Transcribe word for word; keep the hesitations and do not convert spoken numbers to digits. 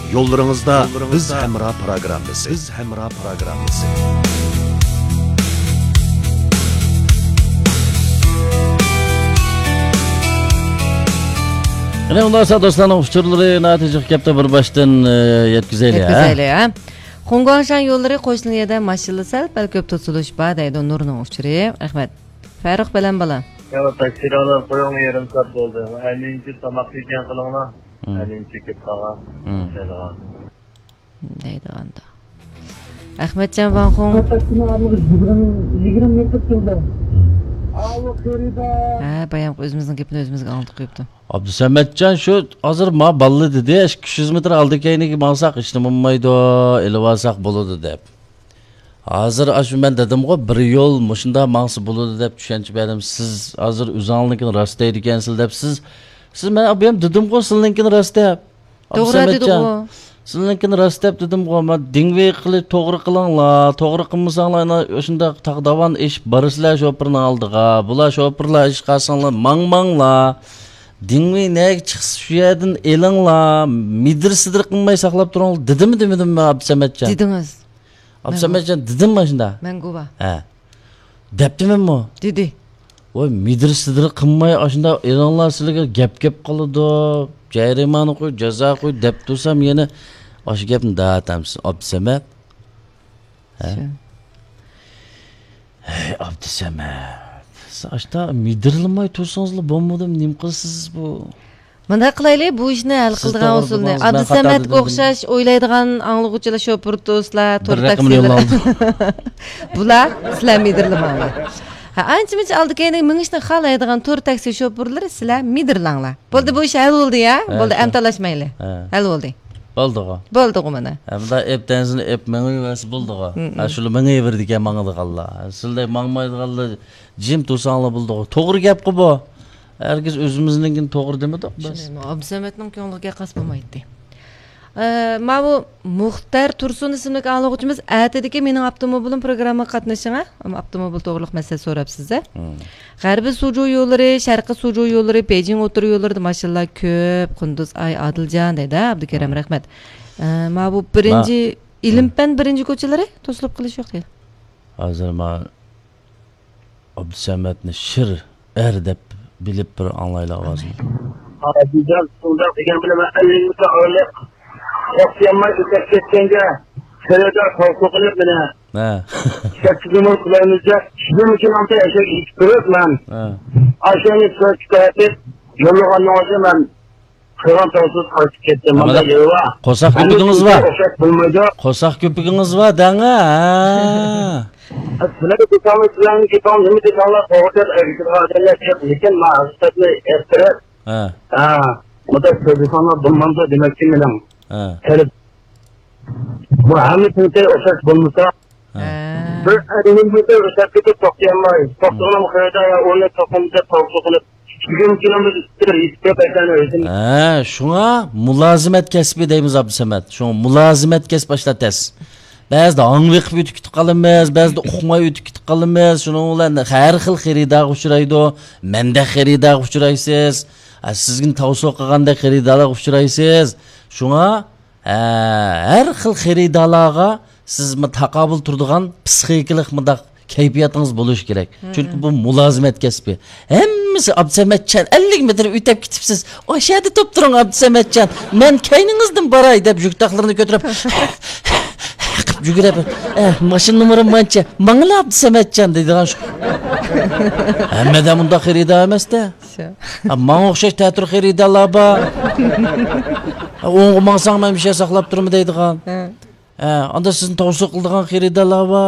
يوللىرىڭىزدا بىز ھەمراھ پىروگراممىسى. بىز ھەمراھ پىروگراممىسى. يەنە ئۇنداقسا دوستلارنىڭ ئۇچۇرلىرى ناتىجىغا كەپتۇ، بىر باشتىن، ئە، يەتكۈزەيلى، ھە؟ يەتكۈزەيلى، ھە؟ خۇڭگۇاڭشان يوللىرى قوشنا يەردە ماشىنىلا سەل پەل كۆپ توسۇلۇش بار دەيدۇ نۇرنىڭ ئۇچۇرى. رەھمەت. فەرۇق بەلەن بالا. يا، تاكسىلارنى قويۇڭ، يېرىم سائەت بولدى. ئەنىنچە تاماق يېگەن قىلىڭلار. مم. ئەنىنچە كېلىپ قالغان. مم. دەيدىغان. دەيدىغاندا. ئەخمەتجان ۋاڭخۇڭ. يىگىرمە، يىگىرمە مېتىر تۇرىدۇ. ھە، بايامقى ئۆزىمىزنىڭ گېپىنى ئۆزىمىزگە ئاڭلىتىپ قويۇپتۇ. ئابدۇسەمەتجان شۇ ھازىر ما باللا دېدى، ئىككى يۈز مېتىر ئالدى كەينىگە ماڭساق ھېچنېمە بولمايدۇ، ئېلىۋالساق بولىدۇ دەپ. ھازىر ئاشۇ مەن دېدىمغۇ، بىر يول مۇشۇنداق ماڭسا بولىدۇ دەپ چۈشەنچە بەردىم. سىز ھازىر ئۆزۈڭلارنىڭكىنى راست دەيدىكەنسىلەر دەپ، سىز، سىز مەن ئابىيام دېدىمغۇ، سىلىنىڭكىنى راست دەپ. توغرا ئابدۇسەمەتجان، دېدىغۇ. سىلىنىڭكىنى راست دەپ دېدىمغۇ، مەن دىڭۋېي قىلىپ توغرا قىلىڭلار، توغرا قىلمىساڭلار، ئانا، شۇنداق تاغداۋان ئېشىپ بارىسىلەر شوپۇرنىڭ ئالدىغا. بۇلار شوپۇرلار ئېشىپ قالساڭلار، ماڭماڭلار. دىڭۋېي نەگە چىقسا، شۇ يەردىن ئېلىڭلار. مىدىر-سىدىر قىلماي ساقلاپ تۇرۇڭلار، دېدىممۇ دېمىدىممۇ، ئابدۇسەمەتجان؟ دېدىڭىز. ئابدۇسەمەتجان، دېدىممۇ ئاشۇنداق؟ مەن گۇۋاھ. ھە. دەپتىمەنمۇ؟ دېدى. ۋاي، مىدىر-سىدىر قىلماي، ئاشۇنداق ئېلىڭلار، سىلەرگە گەپ كەپ قالىدۇ. جەرىمانە قوي، جازا قوي دەپ تۇرسام، يەنە ئاشۇ گەپنى دەۋاتامسىز، ئابدۇسەمەت؟ ھە؟ شۇ. ھەي، ئابدۇسەمەت. سىز ئاشتا مىدىرلىماي تۇرسىڭىزلا بولمىدىمۇ، نېمە قىلىسىز بۇ؟ مۇنداق قىلايلى، بۇ ئىشنى ھەل قىلىدىغان ئۇسۇلنى. ئابدۇسەمەتكە ئوخشاش ئويلايدىغان ئاڭلىغۇچىلار، شوپۇر دوستلار، تور تاكسىلار. بۇلار، سىلەر مىدىرلىماڭلار. ھە، ئانچە-مۇنچە ئالدى كەينىگە مېڭىشنى خالايدىغان تور تاكسى شوپۇرلىرى، سىلەر مىدىرلاڭلار. بولدى، بۇ ئىش ھەل بولدى يا. ھە، بولدى، شۇ. ئەمدى تالاشمايلى. ھە. ھەل بولدى. بولدىغۇ. بولدىغۇ مانا. ھە، مۇنداق ئېپ تەنزىنى ئېپ مېڭىۋەرسە بولدىغۇ. ھە، شۇلار مېڭىۋېرىدىكەن ماڭىدىغانلار. سىلەر ماڭمايدىغانلار جىم تۇرساڭلار بولدىغۇ. توغرا گەپقۇ بۇ. ھەرگىز ئۆزىمىزنىڭكىنى توغرا دېمىدۇق بىز. شۇنداقمۇ؟ ئابدۇسەمەتنىڭ كۆڭلىگە قاس بولمايتتى. ئە، ماۋۇ مۇختەر تۇرسۇن ئىسىملىك ئاڭلىغۇچىمىز ئەتىدىكى مېنىڭ ئاپتوموبىلىم پروگراممىغا قاتنىشىڭا، ئاپتوموبىل توغرۇلۇق مەسىلە سوراپسىز-ە. مم. غەربىي سۇجۇ يوللىرى، شەرقىي سۇجۇ يوللىرى، بېيجىڭ ئوتتۇرا يوللىرىدا ماشىنىلار كۆپ. قۇندۇز ئاي ئادىلجان دەيدۇ، ئابدۇكېرەم، مم. رەھمەت. ئە، ماۋۇ بىرىنچى، ما-، ئىلىمپەن بىرىنچى كوچىلىرى توسۇلۇپ قېلىش يوق دەيدۇ. ھازىر ما ئابدۇسەمەتنى شىر ئەر دەپ بىلىپ بىر ئاڭلايلى ئاۋازىنى. ئابدۇجان شۇنداق دېگەن بىلەن مەن ئەللىك مېتىر ئارىلىق توختىيالماي ئۆتۈپ كەتكەنگە، خېرىدار قورقۇپ قېلىپ مېنى ھە. سەككىز نومۇر قىلايمىز دەپ، شۇنىڭ ئۈچۈن ئاشۇ ئىشىك كىرىپ مەن ھە. ئاشۇنى كۆرۈپ يوللىغاننىڭ ئۆزى مەن قىلغان توغرىسىز قايتىپ كەتتىم. مانا مۇنداق يولى بار. قورساق كۆپۈكىڭىز بار. ئوخشاش بولمايدۇ. قورساق كۆپۈكىڭىز بار دەڭە. ھە. سىلەر دېسەڭلار، سىلەرنىڭ گېپىڭ نېمە دېسەڭلار، توغرا دەپ ئەگىشىدىغان ئادەملەر جىق، لېكىن مەن ھەقىقەتنى ئەتتىرىپ، ھە. ھە، مۇنداق سۆزلىسەڭلار بولمامدۇ دېمەكچى مېنىڭ. ھە. كېلىپ، بۇ ھەممە تىڭتەي ئوخشاش بولمىسا، ھە. ھە. بىر ئەللىك مېتىر ئۆتۈپ كېتىپ توختىيالماي، توختىغىنىم خېرىدار يا ئۇنى توختىمىسا توغرا قىلىپ، بۈگۈنكى كۈنىمىز يېتىپ كەتكەن ئۆزىنى. ھە، شۇڭا مۇلازىمەت كەسپى دەيمىز، ئابدۇسەمەت. شۇڭا مۇلازىمەت كەسپى ئاشۇنداق تەس. بەزىدە ھاڭۋېقىپ ئۆتۈپ كېتىپ قالىمىز، بەزىدە ئۇقماي ئۆتۈپ كېتىپ قالىمىز. شۇنىڭ بىلەن ھەر خىل خېرىدارغا ئۇچرايدۇ. مەندەك خېرىدارغا ئۇچرايسىز. ھە، سىزگە تاۋسىيە قىلغاندەك خېرىدارلارغا ئۇچرايسىز. شۇڭا ھە، ھەر خىل خېرىدارلارغا سىز مۇ-، تاقابىل تۇرىدىغان پسىخىكىلىق مۇنداق كەيپىياتىڭىز بولۇشى كېرەك. مم. چۈنكى بۇ مۇلازىمەت كەسپى. ھەممىسى، «ئابدۇسەمەتجان، ئەللىك مېتىر ئۆتۈپ كېتىپسىز. ئاشۇ يەردە تۇرۇپ تۇرۇڭ، ئابدۇسەمەتجان. مەن كەينىڭىزدىن باراي» دەپ، يۈك تاقلىرىنى كۆتۈرۈپ، قىلىپ يۈگۈرۈپ، «ئە، ماشىنا نومۇرۇم مانچە. ماڭىلا، ئابدۇسەمەتجان» دەيدىغان شۇ. ھەممىدە مۇنداق خېرىدار ئەمەستە. شۇ. ھە، ماڭا ئوخشاش تەتۈر خېرىدارلار بار. ھە، ئوڭغا ماڭساڭ، مەن بىر شەي ساقلاپ تۇرىمەن دەيدىغان. ھە. ھە، ئاندا سىزنى تاۋسىيە قىلىدىغان خېرىدارلار بار.